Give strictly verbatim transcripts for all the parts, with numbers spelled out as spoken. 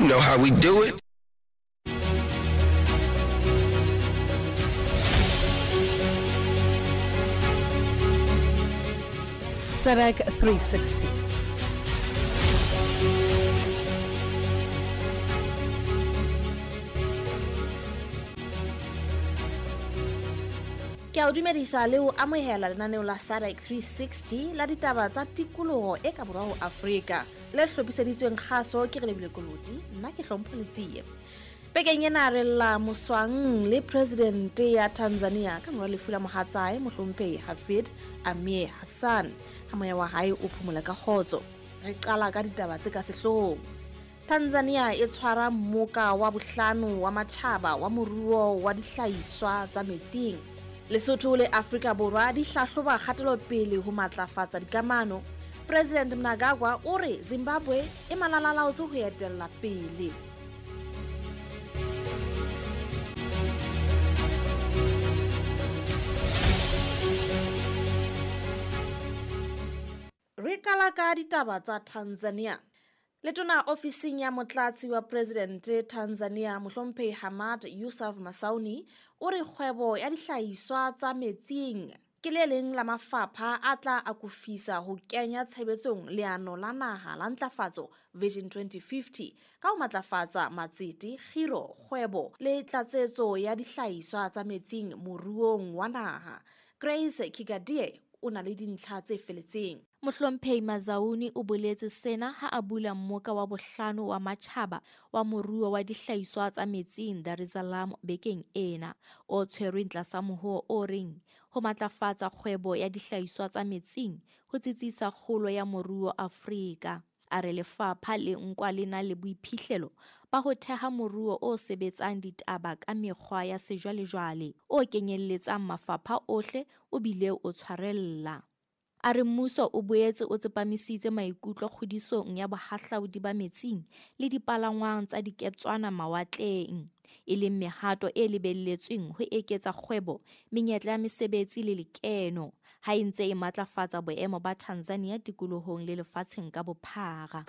You know how we do it. S A D C three sixty. Ke a o dumedisa le ho amohela lenaneo la S A D C three sixty la ditaba tsa tikoloho e ka borwa ho Afrika le hlophiseditsweng kgaso ke re lebile Koloti, nna ke Hlompho Letsie. Bekeng ena re lla moswang le presidente ya Tanzania ka mora lefu la mohatsae mohlomphehi Hafidh Amir Hassan, ha moya wa hae o phomola ka kgotso. Re qala ka ditaba tse ka sehloohong. Tanzania e tshwara mmoka wa bohlano wa matjhaba wa moruo wa dihlahiswa tsa metsing. Lesotho le Afrika Borwa di hlahloba kgatelopele ho matlafatsa dikamano. President Mnangagwa o re Zimbabwe e malalalaotse ho etella pele. Re qala ka ditaba tsa Tanzania. Letona ofising ya motlatsi wa presidente Tanzania mohlomphehi Hamad Yusuf Masauni o re kgwebo ya dihlahiswa tsa metsing ke le leng la mafapha a tla akofisa ho kenya tshebetsong leano la naha la ntlafatso Vision twenty fifty ka ho matlafatsa matsete, kgiro, kgwebo le tlatsetso ya dihlahiswa tsa metsing moruong wa naha. Grace Kigadie o na le dintlha tse feletseng. Mohlomphehi Masauni o boletse sena ha a bula mmoka wa bohlano wa matjhaba wa moruo wa dihlahiswa tsa metsing Dar es Salaam bekeng ena, o tshwerweng tlasa mohoo o reng ho matlafatsa kgwebo ya dihlahiswa tsa metsing ho tsitsisa kgolo ya moruo Afrika. A re lefapha le nkwa le na le boiphihlelo ba ho theha moruo o sebetsang ditaba ka mekgwa ya sejwalejwale o kenyelletsang mafapha ohle o bile o tshwarella. A re mmuso o boetse o tsepamisitse maikutlo kgodisong ya bohahlaudi ba metsing le dipalangwang tsa dikeptswana mawatleng, e leng mehato e lebelletsweng ho eketsa kgwebo, menyetla ya mesebetsi le lekeno, ha e ntse e matlafatsa boemo ba Tanzania tikolohong le lefatsheng ka bophara.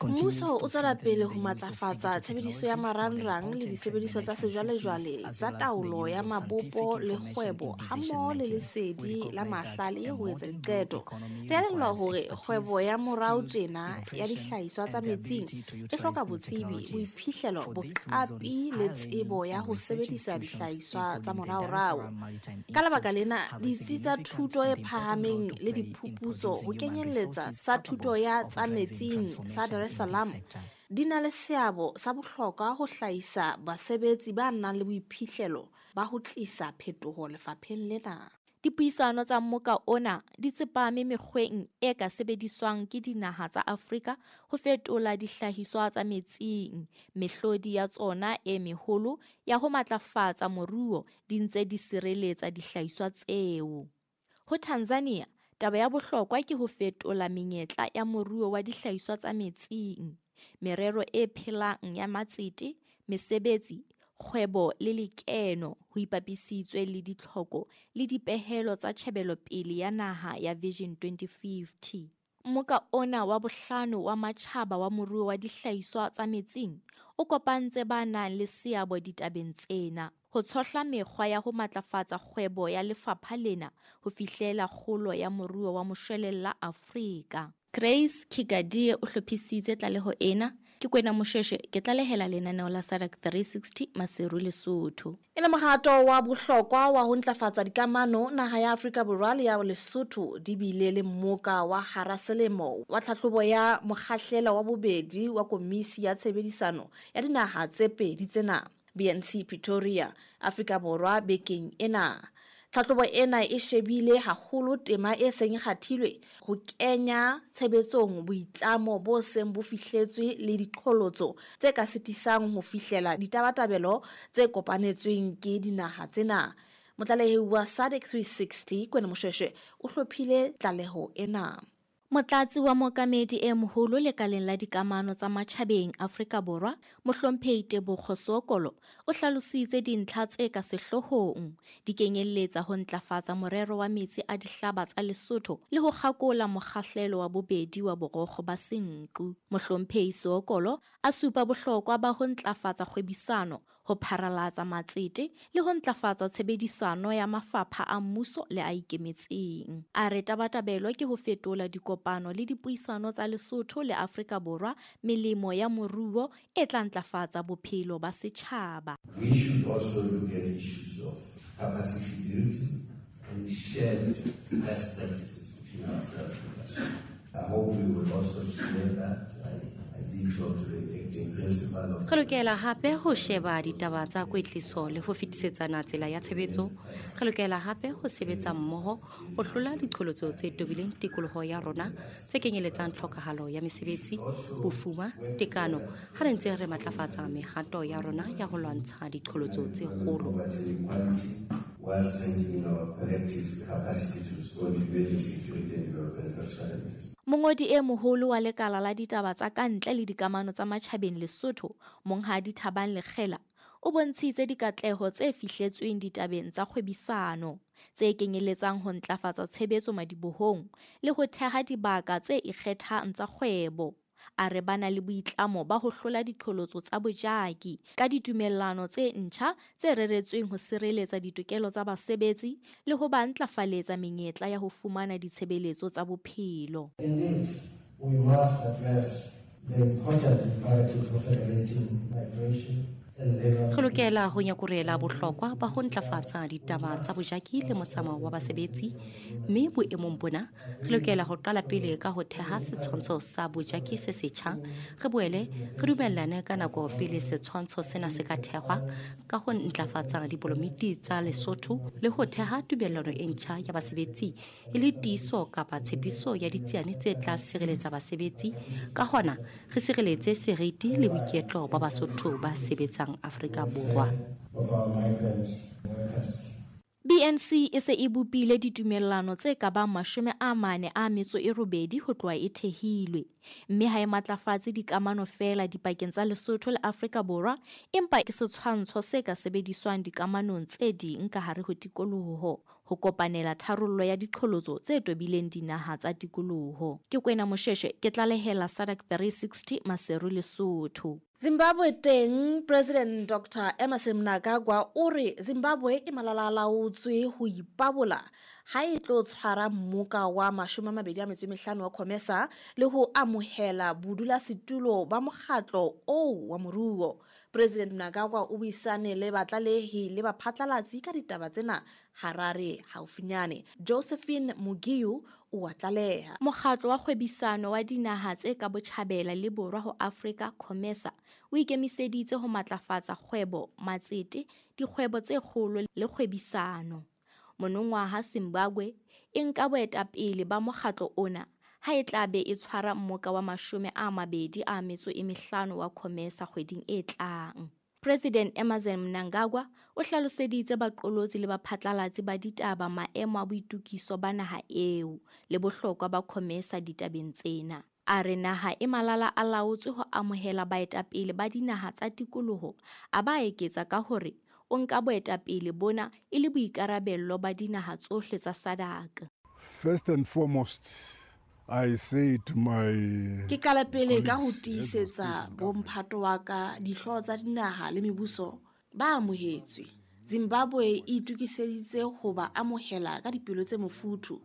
Mmuso o tswela pele ho matlafatsa tshebediso ya marangrang le disebediswa tsa sejwalejwale tsa taolo ya mabopo le kgwebo hammoho le lesedi la mahlale ho etsa diqeto. Re elellwa hore kgwebo ya morao tjena ya dihlahiswa tsa metsing e hloka botsebi, boiphihlelo, boqapi le tsebo ya ho sebedisa dihlahiswa tsa moraorao. Ka lebaka lena, ditsi tsa thuto e phahameng le diphuputso ho kenyelletsa sa thuto ya tsa metsing sa Dar es Salaam di na le seabo sa bohlokwa ho hlahisa basebetsi ba nang le boiphihlelo ba ho tlisa phetoho lefapheng lena. Dipuisano tsa mmoka ona di tsepame mekgweng e ka sebediswang ke dinaha tsa Afrika ho fetola dihlahiswa tsa metsing, mehlodi ya tsona e meholo ya ho matlafatsa moruo di ntse di sireletsa dihlahiswa tseo. Ho Tanzania, taba ya bohlokwa ke ho fetola menyetla ya moruo wa dihlahiswa tsa metsing, merero e phelang ya matsete, mesebetsi, kgwebo le lekeno ho ipapisitswe le ditlhoko le dipehelo tsa tjhebelopele ya naha ya Vision twenty fifty. Mmoka ona wa bohlano wa matjhaba wa moruo wa dihlahiswa tsa metsing o kopantse ba nang le seabo ditabeng tsena ho tshohla mekgwa ya ho matlafatsa kgwebo ya lefapha lena ho fihlela kgolo ya moruo wa moshwelella Afrika. Grace Kigadie o hlophisitse tlaleho ena. Ke Kwena Moshweshwe ke tlalehela lenaneo la S A D C three sixty Maseru Lesotho. E le mohato wa bohlokwa wa ho ntlafatsa dikamano, naha ya Afrika Borwa le ya Lesotho di bile le mmoka wa hara selemo wa tlhahlobo ya mokgahlelo wa bobedi wa komisi ya tshebedisano ya dinaha tse pedi tsena, B N C Pretoria, Afrika Borwa bekeng ena. Tlhahlobo ena e shebile haholo tema e seng e kgathilwe ho kenya tshebetsong boitlamo bo seng bo fihletswe le diqholotso tse ka sitisang ho fihlela ditabatabelo tse kopanetsweng ke dinaha tsena. Motlalehi wa S A D C three sixty Kwena Moshweshwe o hlophile tlaleho ena. Motlatsi wa mookamedi e moholo lekaleng la dikamano tsa matjhabeng Afrika Borwa, Mohlomphehi Tebogo Seokolo, o hlalositse dintlha tse ka sehloohong di kenyelletsa ho ntlafatsa morero wa metsi a dihlaba tsa Lesotho le ho kgakola mokgahlelo wa bobedi wa borokgo ba Senqu. Mohlomphehi Seokolo a supa bohlokwa ba ho ntlafatsa kgwebisano, ho pharalatsa matsete le ho ntlafatsa tshebedisano ya mafapha a mmuso le a ikemetseng. A re tabatabelo ke ho fetola dikopano le dipuisano tsa Lesotho le Afrika Borwa melemo ya moruo e tla ntlafatsa bophelo ba setjhaba. We should also look at issues of capacity building and shared best practices between ourselves and Lesotho. I hope we will also hear that. I, I did talk to the acting principal of Re lokela hape ho sheba ditaba tsa kwetliso le ho fetisetsana tsela ya tshebetso. Re lokela hape ho sebetsa mmoho ho hlola diqholotso tse tobileng tikoloho ya rona tse kenyeletsang tlhokahalo ya mesebetsi, bofuma, tekano, ha re ntse re matlafatsa mehato ya rona ya ho lwantsha diqholotso tse kgolo. Poverty and inequality, while strengthening our collective capacity to respond to emerging security and developmental challenges. Mongodi e moholo wa lekala la ditaba tsa kantle le dikamano tsa matjhabeng Lesotho, Monghadi Thabang Lekgela, o bontshitse dikatleho tse fihletsweng ditabeng tsa kgwebisano, tse kenyeletsang ho ntlafatsa tshebetso madibohong le ho theha dibaka tse ikgethang tsa kgwebo. A re ba na le boitlamo ba ho hlola diqholotso tsa bojaki ka ditumellano tse ntjha tse reretsweng ho sireletsa ditokelo tsa basebetsi le ho ba ntlafaletsa menyetla ya ho fumana ditshebeletso tsa bophelo. Indeed, we must address the important imperative of regulating migration. Re lokela ho nyakurela bohlokwa ba ho ntlafatsa ditaba tsa bojaki le motsamao wa basebetsi, mme boemong bona re lokela ho qala pele ka ho theha setshwantsho sa bojaki se setjha. Re boele re dumellane ka nako pele setshwantsho sena se ka thehwa ka ho ntlafatsa dipolisi tsa Lesotho le ho theha tumellano e ntjha ya basebetsi e le tiiso kapa tshepiso ya ditsiane tse tla sireletsa basebetsi. Ka hona re sireletse seriti le boiketlo ba Basotho ba sebetsang Afrika Borwa. B N C e se e bopile ditumellano tse ka bang mashome a mane a metso e robedi ho tloha e thehilwe, mme ha e matlafatse dikamano feela dipakeng tsa Lesotho le Afrika Borwa, empa ke setshwantsho se ka sebediswang dikamanong tse ding ka hare ho tikoloho ho kopanela tharollo ya diqholotso tse tobileng dinaha tsa tikoloho. Ke Kwena Mosheshe, ke tlalehela S A D C three sixty Maseru, Lesotho. Zimbabwe teng, President Doctor Emmerson Mnangagwa o re Zimbabwe e malalalaotswe ho ipabola ha e tlo tshwara mmoka wa mashome a mabedi a metso e mehlano wa COMESA le ho amohela bodulasetulo ba mokgatlo oo wa moruo. President Mnangagwa o buisane le batlalehi le baphatlalatsi ka ditaba tsena Harare haufinyane. Josephine Mugiu o a tlaleha. Mokgatlo wa kgwebisano wa dinaha tse ka botjhabela le borwa ho Afrika, COMESA, o ikemiseditse ho matlafatsa kgwebo, matsete, dikgwebo tse kgolo le kgwebisano. Monongwaha Zimbabwe e nka boetapele ba mokgatlo ona ha e tla be e tshwara mmoka wa mashome a mabedi a metso e mehlano wa COMESA kgweding e tlang. President Emmerson Mnangagwa o hlaloseditse baqolotsi le baphatlalatsi ba ditaba maemo a boitokiso ba naha eo le bohlokwa ba COMESA ditabeng tsena. A re naha e malala a laotswe ho amohela baetapele ba dinaha tsa tikoloho, a ba eketsa ka hore o nka boetapele bona e le boikarabello ba dinaha tsohle tsa S A D C. First and foremost, I say to my Ke qala pele ka ho tiisetsa bomphato wa ka dihlooho tsa dinaha le mebuso ba amohetswe. Zimbabwe e itokiseditse ho ba amohela ka dipelo tse mofuthu.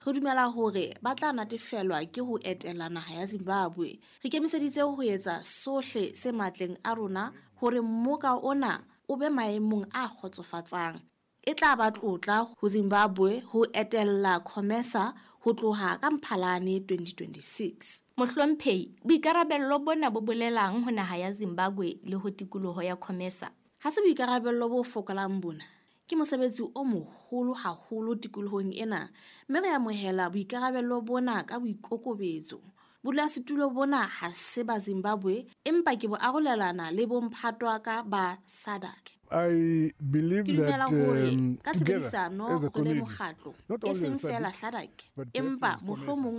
Re dumela hore ba tla natefelwa ke ho etela naha ya Zimbabwe. Re ikemiseditse ho etsa sohle se matleng a rona hore mmoka ona o be maemong a kgotsofatsang. E tla ba tlotla ho Zimbabwe ho etella COMESA ho tloha ka Mphalane twenty twenty-six. Mohlomphehi, boikarabello bona bo bolelang ho naha ya Zimbabwe le ho tikoloho ya COMESA? Ha se boikarabello bo fokolang bona, ke mosebetsi o moholo haholo tikolohong ena, mme re amohela boikarabello bona ka boikokobetso. Bodulasetulo bona ha se ba Zimbabwe, empa ke bo arolelana le bomphatwa ka ba S A D C. I believe Ke dumela that, hore um, ka together tshebedisano as a re le community, mokgatlo, not e only seng the S A D C, feela S A D C, but perhaps empa as COMESA, mohlomong